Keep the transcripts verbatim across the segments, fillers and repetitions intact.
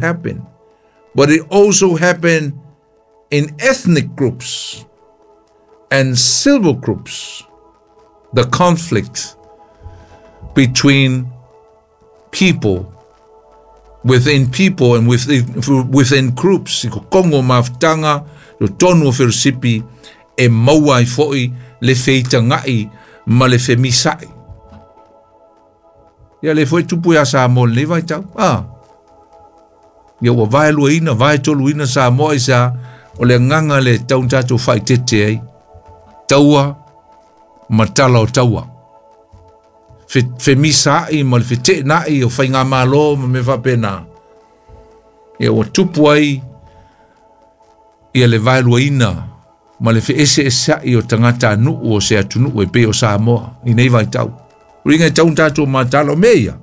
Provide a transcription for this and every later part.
Happen, but it also happened in ethnic groups and civil groups. The conflict between people, within people and within, within groups. I kokongo mafutanga, lo tonu o whirosipi, e maua ai foi le feitangai ma le femisai. Ia le foi tupu ia Samoa le vai tau. Ah. Ia ua vae luaina, vae toluina Samoa i sa, o le nganga le tau tātou whaitete ai. Taua, matala o taua. Fe, femisai ma le fetenai o whainga malo ma me whapena. Ia ua tupu ai, ia le vae luaina, ma le whaese esai o tangata nuu o se atu nuu e pe o Samoa, i nei vai tau. Ringa e tau tātou matala o mea.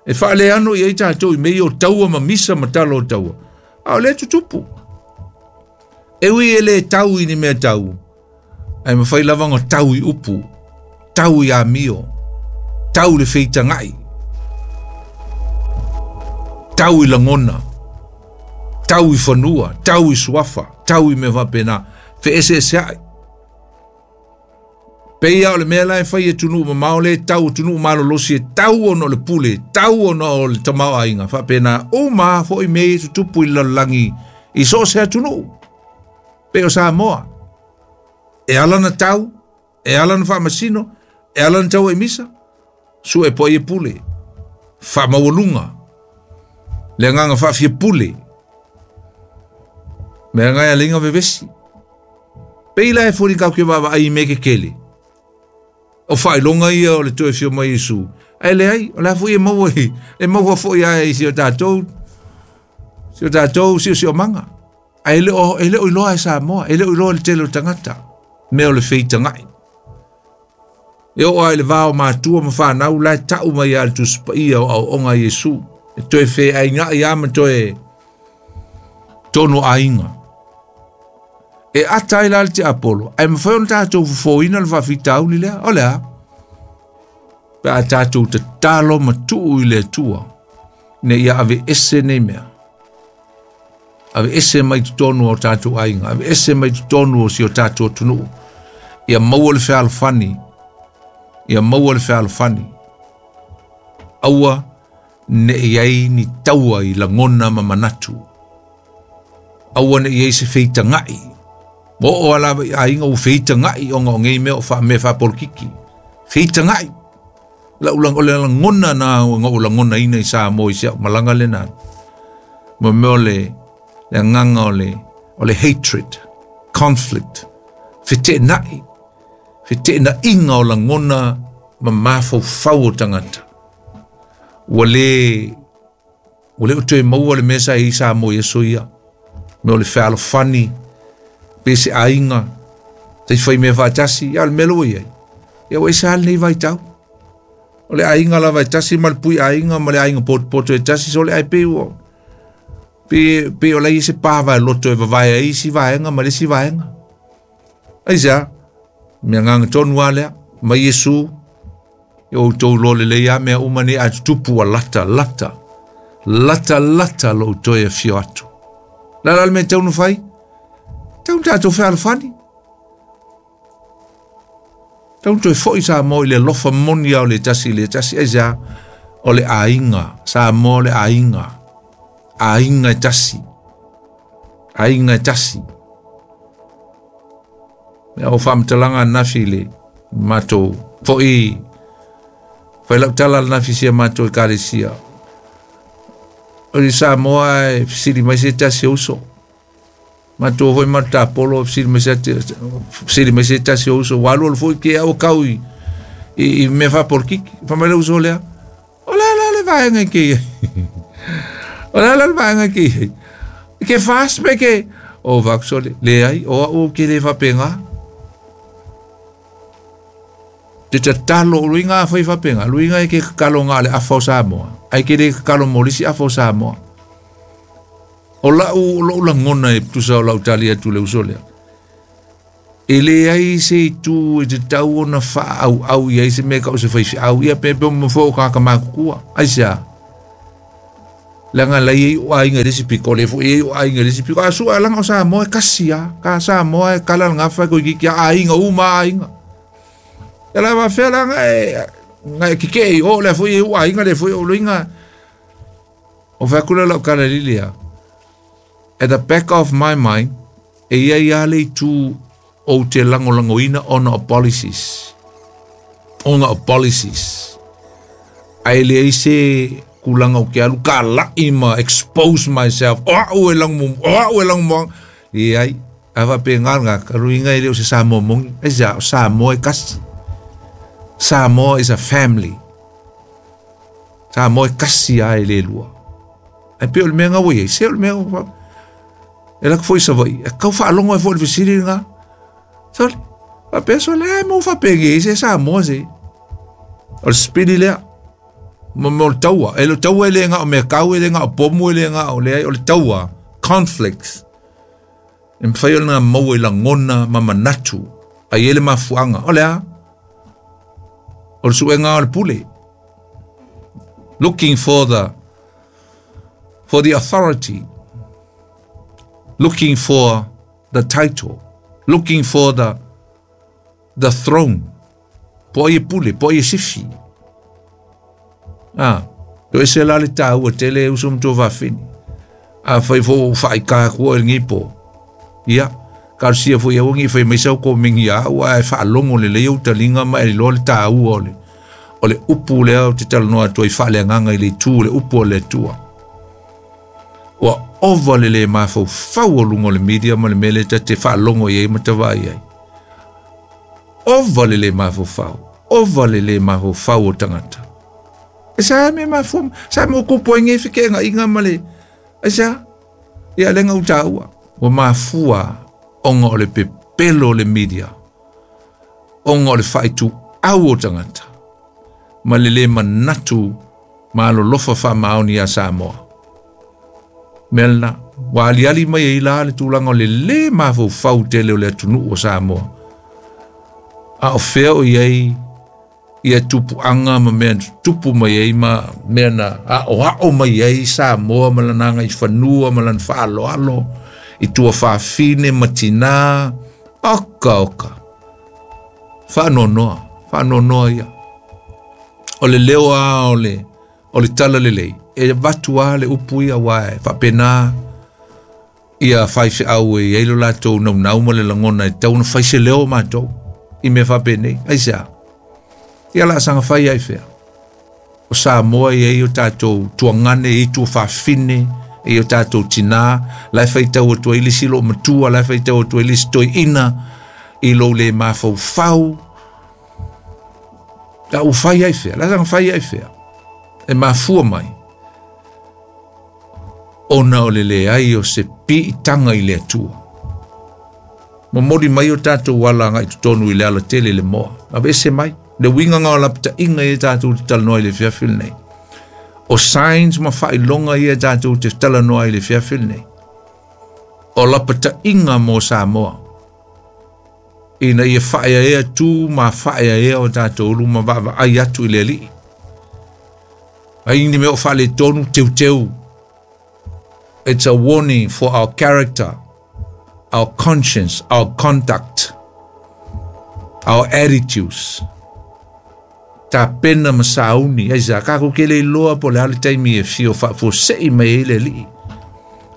E whaale ano i ei tātou i mea o taua ma misa matala o taua. A o le tutupu. E ui e le tau i ni mea tau. Ai mawhai lavanga tau i upu. Tau i amio. Tau le whitangai. Tau i langona. Tau i whanua. Tau i suafa. Tau i me whapena. Whe ese ese ai. Peia o le mea lai whai e tunu ma mao le tau tunu malo losi e tau ono le pule, tau ono o le tamao ainga. Whapena o ma fo i mei tutupu i lalangi i so se tunu. Pe o Samoa. E ala na tau, e ala na whamasino, e ala na tau e misa. Su e po e pule. Whamawalunga. Le nganga whawhia pule. Mea ngai a linga vevesi. Peila e fori kau ke wawa ai me ke kele. O whailonga ia o le toe whio mai Isu. Ai le ai, o la fui e maua i, e maua fo ia e si o tātou, si o tātou, si o si o manga. Ai le o, e le o iloa e Samoa, e le o iloa le tele o tangata, mea o le whitangai. E o ai le vāo mātua ma whanau, lai tau mai a le tusipaia o au onga Iesu. E toe whe ai ngai ama toe tono ainga. E atai la te Apollo. Ai mawhai ona tātou fufoina le whawhitauli lea. O lea. Pe a tātou te talo matuu i le atua. Ne ia ave ese nei mea. Ave ese mai tonu o tātou ainga. Ave ese mai tonu o si o tātou tunuu. Ia maua le whealofani. Ia maua le whealofani. Aua ne iai ni taua i langona ma manatu. Aua ne iai se whitangai. Mo o ala ainga u whitangai o ngā ngei mea o wha me whapolkiki. Whitangai. La ulang o le langona na ngā o langona ina i Samoa i sea malanga le nā. Mo mea o le, le nganga o le, o le hatred, conflict, whitenai. Whitena inga o langona ma mawhau whau o tangata. Ua le, ua le o toe maua le mesa i Samoa i aso ia. Mea o le whealofani, pe se ainga, te whai mea whaatasi, ia le melo ia. Ia wa isa nei vai tau. O le ainga la vai tasi, ma le pui ainga, ma le ainga poto e tasi, so le ai pe ua. Pe, pe o lai se pāwa e loto e vavae ai si vaenga, ma le si vaenga. Ai sea, mea nganga tonu alea, ma Iesu, ia o tau lole le ia mea umane a tupu a lata, lata, lata, lata lo toe e fio atu. La la le mea taunu whai, tau tātou whealofani. Tau toe foi Samoa i le lofa moni au le tasi le tasi e sea, o le ainga, Samoa le ainga, ainga e tasi, ainga e tasi. Mea o whaamatalanga nafi le mātou, foi, whai lau tala le nafi sia mātou e karesia. O le Samoa e siri mai se tasi uso. Mātou hoi mātou Apollo siri mai se siri mai se tasi uso. Walu o foi ke au kau i, i, i me whapolkiki. Whamai le uso lea. O la la le vaenga ke. O la la le vaenga ke. Ke fast me ke. O vakso le, le ai, o au ke le whapenga. Te tatalo o luinga a whai whapenga. Luinga e ke kakalo ngā le awhao Samoa. Ai ke le kakalo molisi awhao Samoa. O lau, lau langona e tusa o lau tali atu le uso lea. E le ai se i tū e te tau ona wha au au i ai se mea kau se whai au ia pepe o mawhao kaka makukua. Ai sea. Langa lai o aiga le si piko le fo e o aiga le si piko a su alanga o Samoa e kasi a ka Samoa e kala nga fa ko ki aiga uma aiga e la va fe langa e nga ki ke o le fo e o aiga le fo o loinga o fa kula la kala lilia. At the back of my mind e ia ia le tu o te langolangoina ona o policies ona o policies ai le se kulanga o ke alu ka lai ma expose myself o au e lang mo o au e lang mo i ai ava pe nganga ruinga ile o se Samoa mongi e sa Samoa e kasi. Samoa is a family. Samoa e kasi ai le lua ai pe o le mea ngau e se o le mea e la foi sa vai e kau whaalongo e foi le fisiri nga sole a pe sole ai mo fa pege se Samoa se o le spili lea mo mo le taua e le taua le nga o mea kau e le nga o pomu e le nga o le o le taua conflicts e mwhai o le nga maua i langona ma manatu a i ele mafuanga o lea o le suenga o le pule looking for the for the authority, looking for the title, looking for the the throne. Po i pule, po i sifi. Ah, to ese la le tāua tele uso mto vafini. A fai fo whai kā kua e ngipo. Ia, ka sia fo ia wangi fai maisau ko mingi a ua e whaalongo le leo talinga ma e lo le tāua o le. O le upu lea o te talanoa tua i whaale nganga i le tū le upu o le tua. Ua ova le le mafau fau o lungo le media ma le mele ta te whaalongo i e matawai ai. Ova le le mafau fau. Ova le le mafau fau o tangata. E sa me mafau, sa me okupo e ngefe ke nga inga ma le. E sa, ia lenga u tāua. Ua mafua onga o le pepelo o le media. Onga o le whaitu au o tangata. Ma le le manatu ma alolofa wha maoni a Samoa. Melna, wa aliali mai e ila le tūlanga o le le mafau fau tele o le atunu o Samoa. A o fea o iei ia tupu anga ma mea tupu mai ei ma mea na a o ao mai ei Samoa ma lananga i whanua ma lan whaaloalo i tua whaafine matina oka oka. Whaanonoa, whaanonoa ia. O le leo a o le, o le tala lelei. E vatu a le upu ia wae, whapena ia whaiwhi au e eilo lātou nau nau ma le langona e tau na whaise leo mātou i me whapene, ai sea. Ia la sanga whai ai whea. O Samoa i ei o tātou tuangane, i tua whawhine, i o tātou tina, lai whai tau atua i lisi lo matua, lai whai tau atua i lisi toi ina, i lo le mafau fau. La u whai ai whea, la sanga whai ai whea. E mafua mai. Ona o le le ai o se piitanga i le atua. Momori mai o tātou wala ngai tonu i le ala tele le moa. Awe ese mai, le winga ngā o lapita inga i tātou te talanoa i le fiafil nei. O signs ma whailonga i tātou te talanoa i le fiafil nei. O lapita inga mō Samoa. Ina ia whaea ea tū ma whaea ea o tātou luma wawa ai atu i le alii. Ai ni mea o whale tonu teu teu. It's a warning for our character, our conscience, our conduct, our attitudes. Ta pena masauni, ai sa kako ke le loa po le ale taimi e fio whaafosei mai e le alii.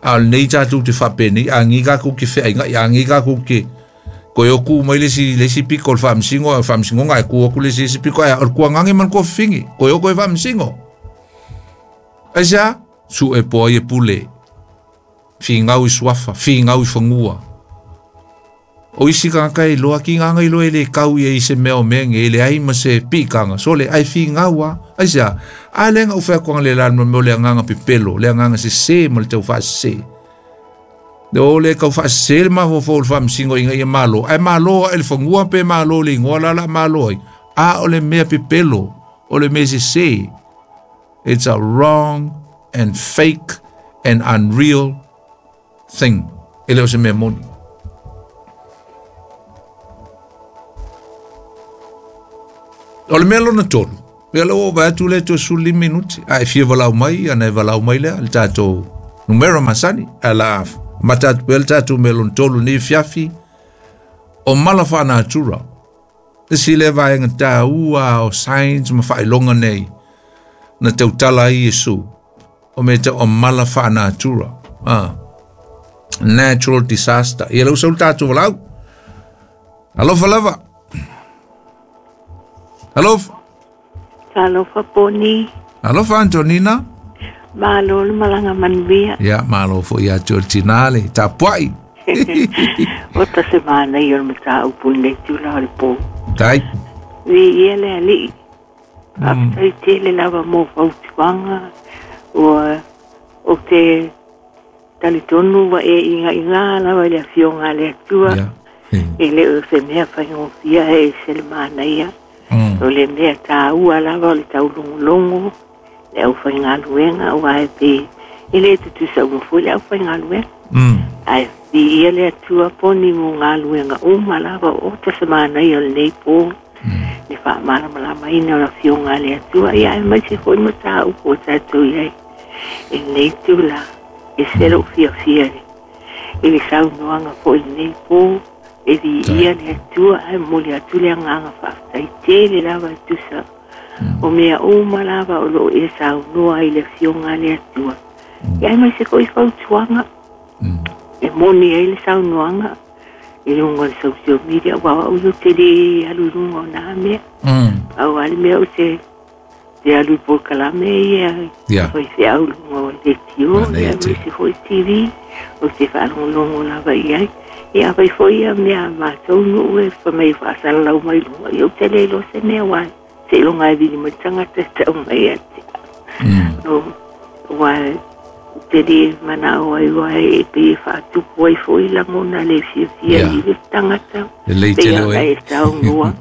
A nei tātou te whapene, a ngi kako ke whea inga, a ngi kako ke koe oku mai le si, le si piko le whamsingo, a whamsingo ngai ku oku le si si piko, a o kua ngange man kua fingi, koe oku e whamsingo. Ai sa, su e poa e pule. Whingau i suafa, whingau i whangua. O isi kanga e loa ki nganga i loa e le kau i e i se mea o mea nge, le ai ma se pikanga. So le ai whingau a, ai sea, a lenga u whea kuanga le lan ma meo le anganga pepelo, le anganga se se ma le tau wha se. Le o le kau wha se le mafofo o le whamsingo inga ia malo. Ai malo a ele whangua pe malo le ingoa la la malo ai. A o le mea pepelo, o le mea se se. It's a wrong and fake and unreal thing. E leo se mea moni. O le mea lona tolu, Ia lau o atu le to suli minuti. Ai fia valau mai, ana e valau mai lea, le tātou numera masani. Ala matatu pele tātou melon tolu ni fiafi. O mala wha-natura. Isi le vaenga tā ua o science ma whailonga nei. Na tautala ai Yesu. O me te o mala wha-natura. Ah. Natural disaster. Ia lau saul tātou valau. Alofa lava. Alofa. Alofa Poni. Alofa Antonina. Malo le malanga manuia. Ia, malo fo ia te tinale. Tapuai. O ta se mana i o le mataupu nei tula o le pō. Tai. Vi ia le alii. Faafetai tele lava mo fautuaga ua o te talitonu ua e igaigā lava i le afioga a le Atua. E le o se mea faigofia e se le manaia. O le mea tāua lava o le taulogologo le aufaigaluega aua e pe e lē tutusa uma foi le aufaigaluega. Ae viia le Atua poni mo galuega uma lava o ta se manaia o lenei pō. Le faamalamalamaina o le afioga a le Atua ia ae maise foi mataupu o tatou iai e lenei tula e se lou fiafia i le saunoaga foi lenei pō e viia le Atua ae momoli atu le agaga faafetai tele lava e tusa o mea uma lava o loo e saunoa i le afioga a le Atua ia ae maise foi fautuaga e moni ai le saunoaga i luga o le social media ua au ia te lē alu i luga o nā mea au a le mea o te te alu i polokalame ia faifeau i luga o letio ia maise foi T V o te faalogologo lava i ai ia afai foi ia mea a matou nuu e famai faasalalau mai luga ia ou te lē iloa se mea uae seiloga e vili mai tagata e tau mai ia te au uae te lē manao ai uae e pei e faatupu ai foi lagona le fiafia i le tagata lelei tele oe e saunoa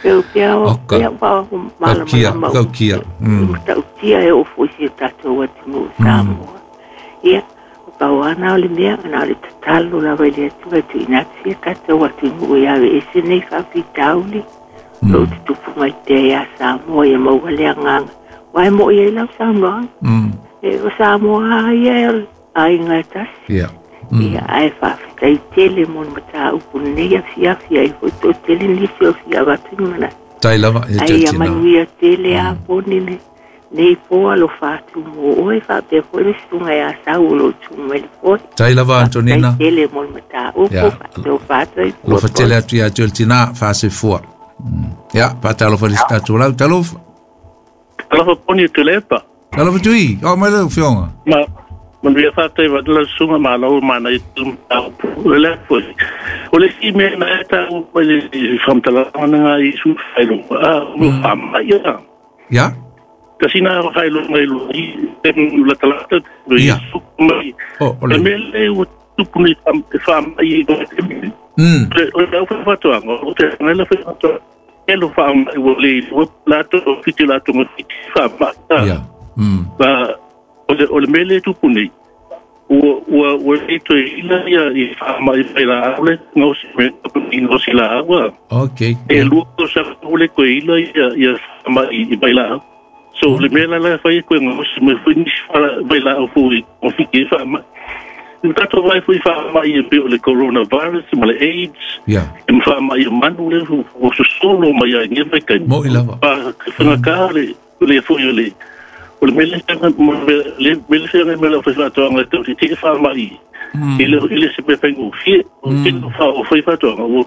e o pea o pea ua malamalama matautia e oo foi si o tatou atunuu Samoa ia o pauana o le mea na o le tatalo lava i le Atua e tuuina atu sia tatou atunuu ia aveese nei faafitauli loo tutupu mai pea iā Samoa ia maua le agaga uae moʻi ai lau saunoaga e o Samoa ia e o le aiga e tasi ia ae faafetai tele mo le mataupu lenei afiafi ai foi toatele nisi o fia avatu ni manatu tai lava ia ai ia manuia tele a poni le nei pō alofa atu mo oe faapea foi le susuga iā Sau o loo tu mai le foe tai lava Antonina tele mo le mataupu faatofa atu ai alofa tele atu ia te o le tinā faasefua ia paatalofa le tatou lau talofa alofa Poni Tulepa alofa tui o mai le fioga ma manuia faafetai vatala susuga malo mana i mataupu le foi o le isi mea na e tau mai le faamatalaga na i su faailoga a o faamai ia ia kasina faailoga i lua i la talata ia mai o le mea le ua tupu nei faamai i o le aufaifaatoaga o te la faifaatoaga e lo faamai ua le ua latou fiti latou fiti faamai ia ma o le o le mea le tupu nei ua ua ua le toe ila ia i faamai mai laau le gaosi me i gaosi laau a okay e lua tausaga ua le toe ila ia ia faamai i mai laau so le mea la la fai koe gaosi mai foi nisi vailaau foi o fiti e faamai i tatou vai foi faamai e pei o le coronavirus ma le AIDS ia e ma faamai o manu le ua sosolo mai ai ia vaitaimi moʻi lava fagagā le le foi o le o le mea le mea feagai ma le aufaifaatoaga e tautiti e faamai i le i le se mea faigofie o tino fa o faifaatoaga ua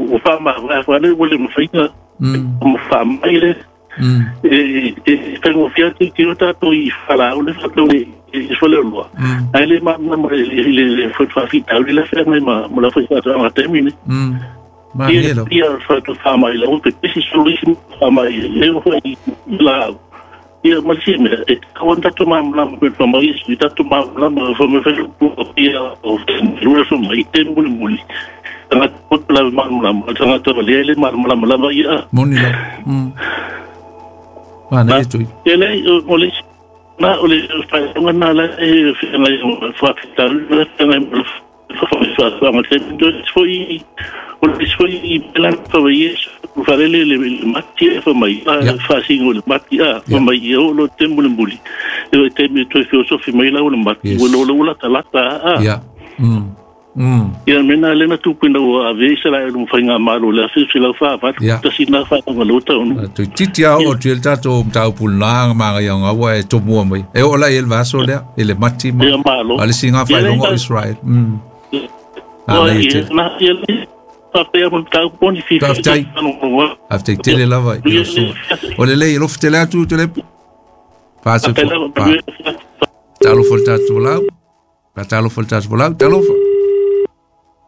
ua faamavae le ua le mafaiga ma faamai le e e faigofie atu tino tatou i falaau le faatau le i faleoloa ae le malamalama i le faafitauli le feagai ma ma le aufaifaatoaga taimi nei malie lava ia faatu faamai le o pepesi solo isi faamai e o foi i laau ia ma le mea e tau tatou malamalama pe faamai i tatou malamalama faamai ia o lua faamai te mulimuli tagata poto lava malamalama tagata valea le malamalama lava ia moni lava manaia tui e lei o le na o le faailoga na la e feagai faafitauli la feagai ma le faafaifaatoaga taimi foi o le isi foi i pela faavaie Falele le mati e fa mai fa singo le mati a fa mai e o lo temu le muli e te mi toi filosofi mai la o le mati o lo lo la talata a ia mm mm ia mena le na tu pina o ave isla e lu fainga malo le afi sila fa fa ta sina fa nga lo ta onu tu titi a o tu el tato mtau pulanga manga ia ngawa e tomua mai e o la el vaso le ele mati ma ale singa fa longo Israel mm a na ia Taftai. After tele lava i o le lei lo ftele atu tele passe talo folta tolau talo folta tolau talo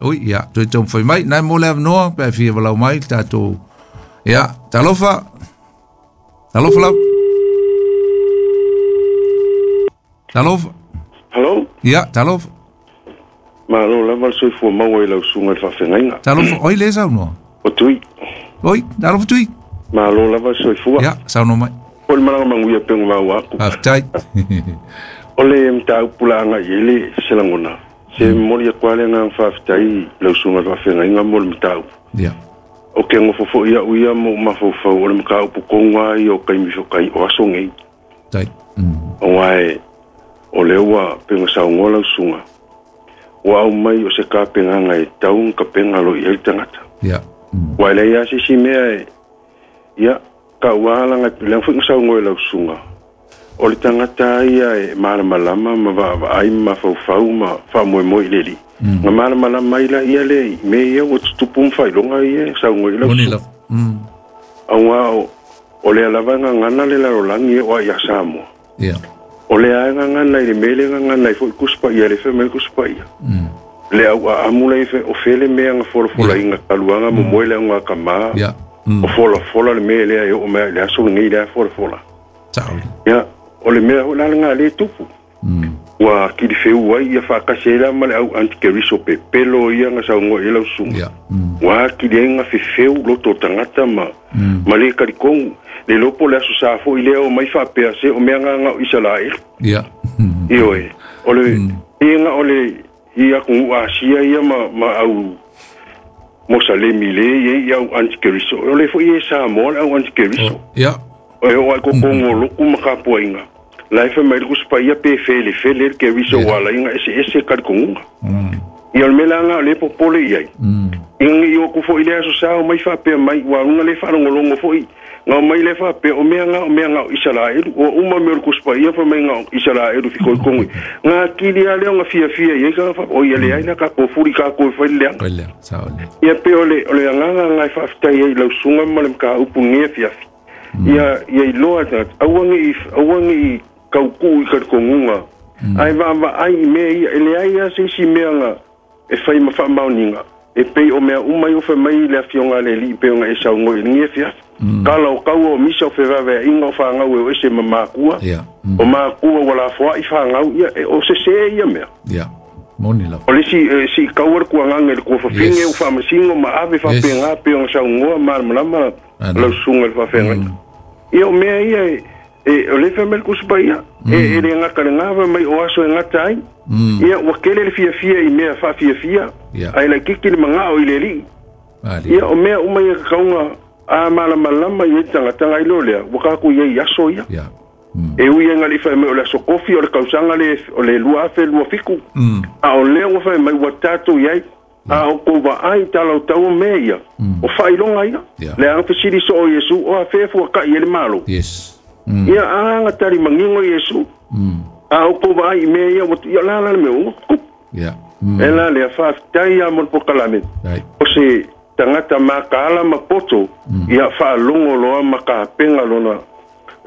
oi ia tu tom foi mai nai mo le no pe fi valau mai tato ia talofa talofa lau talofa hello ia talofa Malo lava soi fua maua i lau sunga le faafeagaiga. Talofa, oi le saunoa. O tui. Oi, talofa tui. Malo lava soi fua. Ia, saunoa mai. O le malaga manuia pe ngau aku. Faafetai. O le mataupu laga i ai le se lagona. Se momoli atu lava le agaga faafetai lau susuga le faafeagaiga mo le mataupu. Ia. O ke gofo fo'i a'u ia mo mafaufau o le mataupu koga ai o kaimi fokai o aso nei. Tai. Auā e o le ua pega saugoa lau susuga. Ua au mai o se kapegaga e tau ga kapega lo i ai le tagata. Ia. Ua e leai lava se isi mea e ia ka'ua alaga leaga fo'i ga saugoa e lau susuga. O le tagata ia e malamalama ma vaavaai ma mafaufau ma faamoemoe i le alii. Ga malamalama ai laia lea i mea ia ua tutupu ma faailoga ia e saugoa i lau susuga. Auā o lea lava e gagana le lalolagi e oa iā Samoa. Ia. O lea e gagana i le mea le gagana ai fo'i kusipaia le fe mai kusipaia. Le au aamu lai fe o fele mea ga folafolaina taluaga momoe le auga kamā. O folafola le mea lea e oo mai i le aso lenei lea folafola. Ia o le mea fo'i la lagā lē tupu. Ua kilifeu ai ia faakasi ai la ma le au antikeriso pepelo ia ga saugoa i ai lau susuga. Ua akili ai ga fefeu loto o tagata ma ma lē kalikogu. Le lopo le aso sa fo'i lea o mai faapea se o mea gaga o Isalaelu. Ia. Ioe. O le iga o le i atunuu Asia ia ma ma au Mosalemi le ia i au antikeriso. O le fo'i e Samoa le au antikeriso. Ia. O e o ai kokogo o loku ma kapuaiga. La e fai mai le kusipaia pe felefele le keriso ua alaiga eseese kalikoguga. Ia o le mea laga o le popole i ai. Iga i oku fo'i le aso sa o mai faapea mai ua aluga le faalogologo fo'i. Ngau mai le faapea o mea nga o mea nga o Isalaelu o uma mea o le kusipaia fa mai nga o Isalaelu fikoikogo. Ga akili a lea o ga fiafia i ai ka fa o ia leai la kakou fuli kakou e fai le leaga. Ia pe o le o le agaga aga e faafetai ai i lau susuga ma le mataupu lenei afiafi. Ia ia iloa tagata aua nei aua nei kaukuu i kalikoguga. Ae vaavaai i mea ia e leai lava se isi mea ga e fai ma faamaoniga. E pei o mea uma i o fai mai le afioga a le alii pe ona e saugoa i lenei afiafi. Kala o kaua o misa o fevaveaʻiga o fagau e o ese ma makua. O makua ua lafoaʻi fagau ia e o sesē ia mea. O le isi siikaua le kuagaga i le kuafafine ua faamasino ma ave faapegā pe ona saugoa malamalama lau susuga i le faafeagaiga. Ia o mea ia e o le fai mai le kusipaia e e le gata legā fai mai o aso e gata ai. Ia ua kele le fiafia i mea faafiafia ae laikiki le magao i le alii. Ia o mea uma ia kakauga a malamalama i ai tagataga ai leo lea ua kakou i ai i aso ia. E ui ai gali'i fai mai o le aso kofi o le kausaga le o le lua afe lua fiku. A o lea ua fai mai ua tatou i ai. A o kou vaai talautau o mea ia. O faailoga ia. Le aga fesili soo Iesu o afea fuaka'i e le malo. Ia aga tali magigo Iesu. A o kou vaai i mea ia ua ia la la le mea ua tupu. E la lea faafetai ia mo le pokalame. O se tagata makaala ma poto ia faalogo loa ma kapega lona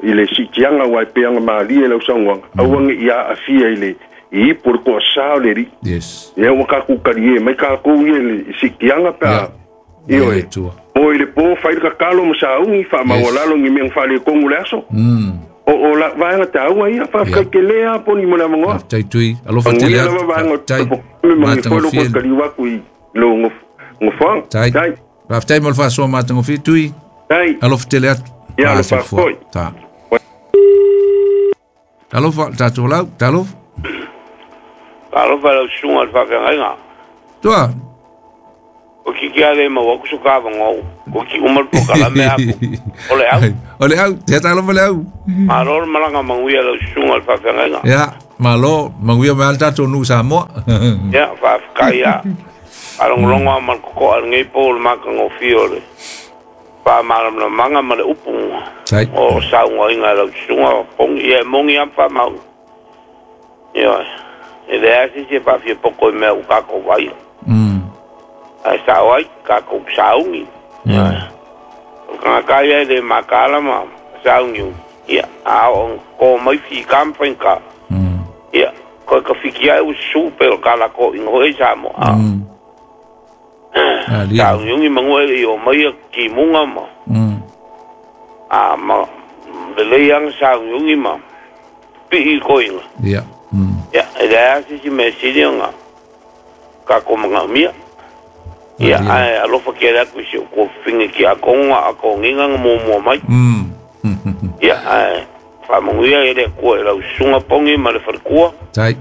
i le siitiaga ua e peaga malie lau saugoaga. Aua nei ia aafia i le i ipu o le koasā o le alii. Ia ua kakou kaliē mai kakou ia le siitiaga pe a ioe. Mo i le pō fai le kakalo ma saugi faamaualalo ni mea faaletonu le aso. O o la vaega taua ia faafetai tele a poni mo le avanoa. Faafetai tui alofa tele atu. Lava vaega o le matagofie kaliu atu i lo gofoaga. Tai. Faafetai mo le faasoa matagofie tui. Tai. Alofa tele atu. Ia alofa foi. Ta. Alofa tatou lau, talofa. Alofa lau susuga le faafeagaiga. Tua. O kiki ale maua ku so ka vangau. Ko ki uma le polokalame aku. O le au. O le au, te talofa le au. Malo le malaga manuia lau susuga le faafeagaiga. Ia, malo, manuia mai a le tatou nuu Samoa. Ia, faafetai a. Faalogologo a ma le koko'a lenei po o le makagofie o le faamalamalamaga ma le upu o saugoaiga e lau susuga pogi ia e mogi a ma faamau. Ioe, e leai se isi e faafiapoko i mea ua tatou vaia. Ae sao ai tatou saugi. Ioe, o le tagata ia e lē makala ma saugiugi ia a oo ko mai fika ma faigata. Ia koe kafiki ai ua susū pe o le kalakoʻiga hoʻi ai Samoa. Saugiugi magua e leʻi o mai ia timuga ma a ma lelei aga saugiugi ma piʻi i koiga. Ia. Ia e leai a se isi mea sili ona tatou magaʻomia. Ia ae alofa kele atu i si ou tuafafine tiakono a atogiga na muamua mai. Ia ae faamanuia e le Atua i lau susuga pogi ma le faletua. Tai.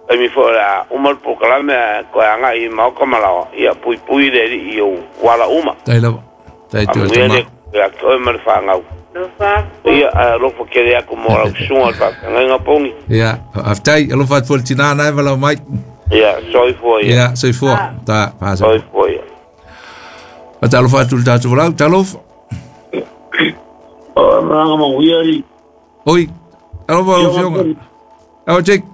Taimi foi o le a uma le polokalame ae toe agaʻi i maoka ma laoa. Ia puipui le alii i ou ala uma. Tai lava. Tai toe Faamanuia tama. le Atua ia te oe ma le fanau. Ia ae alofa kele atu mo lau susuga le faafeagaiga pogi. Ia, faafetai, alofa atu foi le tinā na e walau mai. Ia, soifua ia. Ia, soifua. Ta, faasa. Soifua ia. Fatalofa atu le tatou walau, talofa. O malaga manuia i. Oi, alofa lau afioga. Ao Jake.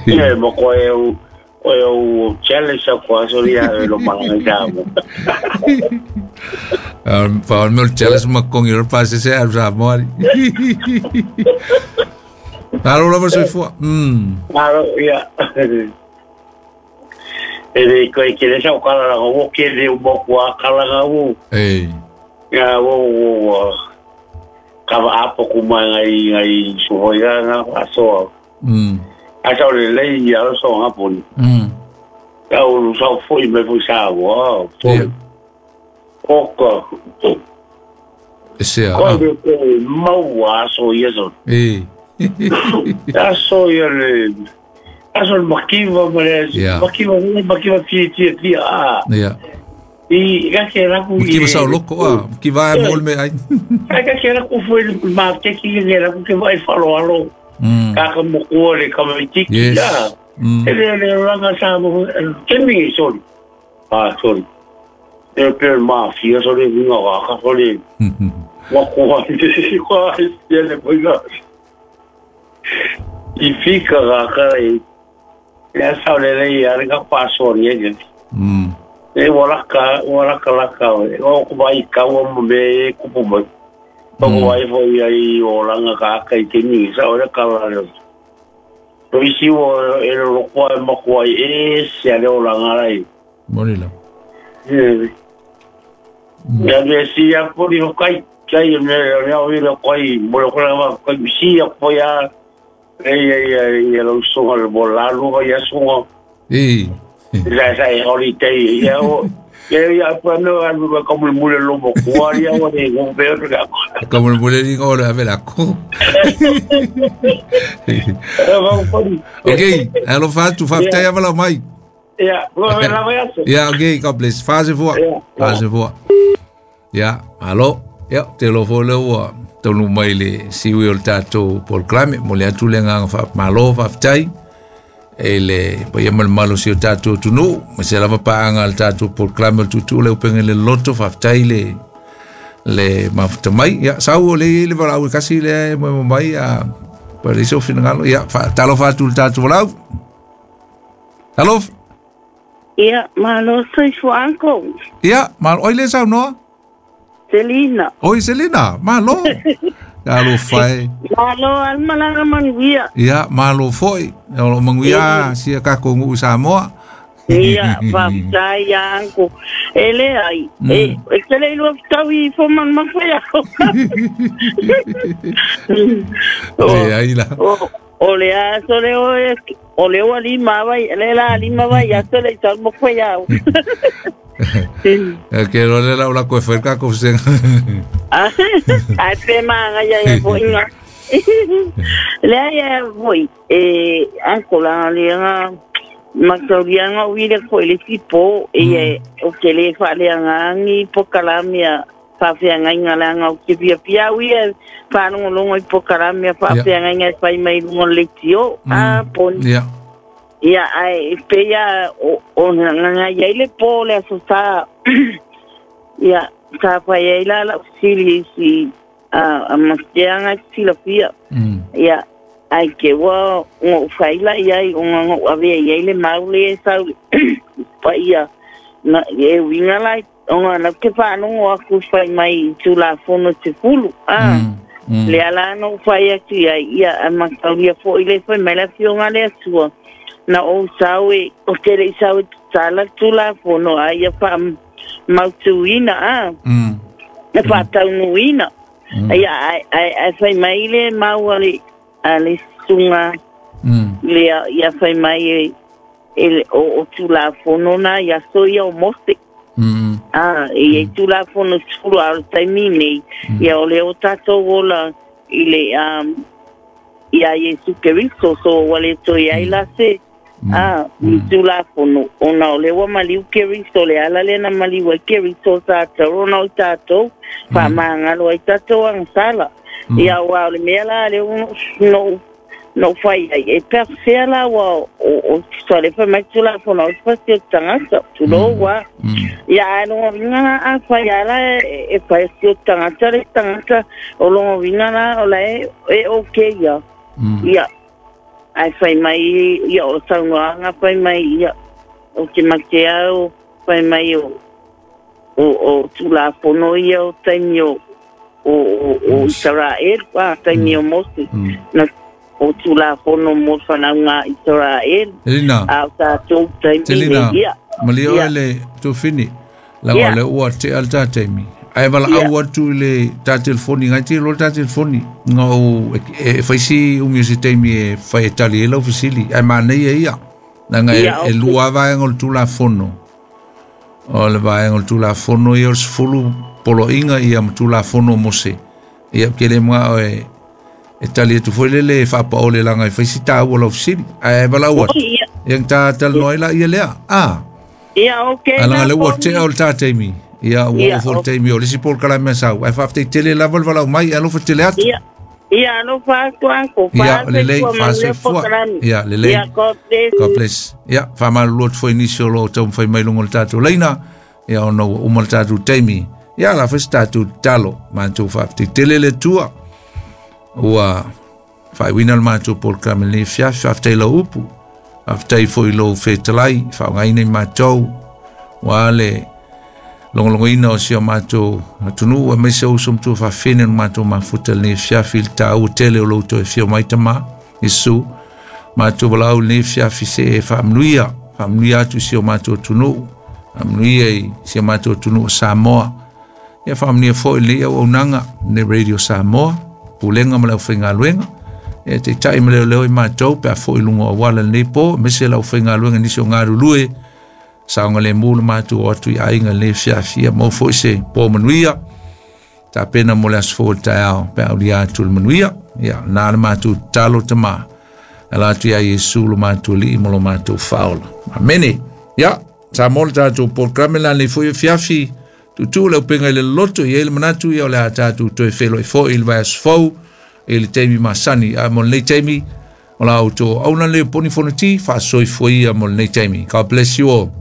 Ia mo ko e o o challenge a ko aso ia lo malaga i mo. Pa o meu challenge ma kongi ro pa se se a sa mo ari. Alo lava soifua. Mm. Malo ia. E ko e kele sa o kala la o kele o mo ko kala ga o. Ei. Ia o o ka va apo ku mai ngai ngai suhoi ga aso. Mm. Aso le le ia so nga pon. Mm. Ka o sa foi me foi sa o. Ia. Oka. Ese a. Ko e mau aso ia so. Ei. Aso ia le aso le makiva ma le makiva makiva ti ti ti a. Ia. I ka ke ra ku Makiva sa loko a, makiva e mol me ai. Ka ke ra ku foi ma ke ki ke ra ku ke vai falo alo. Ka ka mo ko le ka me ti Yes. Ya. E le le ranga sa mo ke mi sorry. Ah sorry. E per mafia so le vinga wa ka so le. Wa ko wa ko e le ko ga. I fika ga ka e ya sa le le ya ga paso ni e. Mm. E wala ka wala ka la ka o ko vai ka o mo me ku pu mo. O ko vai fo ia i o langa ka ka i te ni sa ora ka la le. O isi o e lo ko e mo ko e se le o langa lai. Moni la. E. Ya me si ya por i o kai kai me le o i lo kai mo lo ko la kai si ya ko ya e e e lo so al bolalo ya so. E. La sa e holiday ya o e ya pa no al como el mule lomo cuaria o de un peor ka. Como el mule digo la vela ko. Okay, alofa atu faafetai ava lau mai. Ya, la vai aso. Ya, okay, God bless. Fase fua. Fase fua. Ya, alo. Ya, te lo fo le ua taunuu mai le siui o le tatou polokalame mo le atu le agaga faamalo faafetai e le paia ma le malosi o tatou atunuu ma se lava paaga le tatou polokalame o le tuutuu le upega i le loto faafetai le le mafuta mai. Ia sau o le i le valaau e kasi lea e moemo mai a pa le isi o finagalo. Ia talofa atu le tatou valaau. Talofa. Ia, malo soifua uncle. Ia, malo. Oi le saunoa? Selina. Oi Selina, malo. Alofa e. Malo al malaga manuia. Ia, malo foi. O manuia sia kako ngu Samoa. Ia, faafetai ia uncle. E le ai, e e te le ilua fitaui fo man mafai ako. Le ai la. O le aso le o e o le o lima vai, le la lima vai, aso le tau mo fai au. E ke ro le la ula ko ferka ko sen. Ah, ai pe manga ia ia foi nga. Le ai ia foi e uncle la le nga Mataulianga o ile ko ile tipo e o ke le fa le ngangi pokalamia fa fe ngai la ngau ke pia pia wi fa longo longo pokalamia fa fe ngai fai mai longo le tio a pon ia ia ai pe ia o o ngai ia ile po le so sa ia sa fa ia la la sili si a a mastianga silafia ia ai ke wa ngo faila ia i ngo ave ia ile maule sa pa ia na e winga lai onga na ke fa no aku fai mai tula fono te fulu ah le ala no fai atu ia ia a mataulia fo ile fai mai la fionga le sua na o sawe o te le sawe tala tula fono ai ia fa mautuina ah na fa taunuina ia ai ai fai mai le maua le sunga le ia fai mai e o o tula fono na ia so ia o mose ah e tula fono sulu al taimi nei ia o le o tatou ola ile um ia Yesu Kristo so wale to ia ila se ah tula fono ona o le wa maliu Kristo le ala le na maliu Kristo sa tau na o tatou fa mangalo ai tatou ang sala ia wa le mea le no no fai e per la wa o so le fa mai tula fono o fa se tangata tulo wa ia no vinga a fai ala e fai se tangata le tangata o lo vinga la o la e okay ia ia ai fai mai ia o saunga nga fai mai ia o ke matea o fai mai o o tula fono ia o taimi o o o Israel wa taimi o Mose na o tula fono mo whanau Israel a o tātou taimi ia malia oe le tufini laga le ua te al tā taimi ai wala au atu le tā telefoni ngai te lo tā telefoni nga o e whaisi umi o se taimi e whai e tali e lau fisili ai mānei e ia nanga e lua vaenga o le tula fono o le vaenga o le tula fono ia o le sefulu poloinga ia matula fono mose ia ke le mga o e e tali atu foi lele whaapa ole langa i whaisi tā ua lau fisili ai wala ua ia tā talanoa la ia lea ah ia okay alanga le ua te au le tā taimi ia ua ofo le taimi o lisi pol kala mea sau ai whaafte tele lava le walau mai alofa tele atu ia ia alofa atu anko ia lelei whaasoifua ia lelei ia God bless God bless ia whamalulu atu foi nisi o lo tau mwhai mai lungo le tātou leina ia ono ua uma le tātou taimi ia la fes tātou talo mātou whaafte tele le tua ua whaiwina le mātou polokalame lenei fiafi faafetai lau upu faafetai foi lou fetalai faaaogaina i mātou ua le logologoina o si o mātou atunuu aemaise uso ma tua faafene o mātou mafuta lenei fiafi i le tāua tele o lou toe fia mai tamā Iesu mātou valaau lenei fiafi se e faamanuia faamanuia atu i si o mātou atunuu faamanuia i si o mātou atunuu o Samoa ia faamanuia foi lenei auaunaga lenei Radio Samoa pulega ma le aufaigaluega e taitai ma leoleo i mātou pe a foi luga o auala lenei po aemaise le aufaigaluega nisi o galulue saoga lemu le mātou o atu i aiga lenei fiafia mau foi se po manuia tapena mo le aso fou o le taeao pe aulia atu le manuia ia na le mātou tatalo tamā ala atu iā Iesu lo mātou alii ma lo mātou faaola amene ia sa mo le tatou polokalame la lenei foi fiafi tutu le upenga i le loloto i ai le manatu ia o le a tatou toe feloi foi i le vaiaso fou i le taimi masani a mo lenei taimi o la outou auna lea poni fonoti faasoifua ia mo lenei taimi. God bless you all.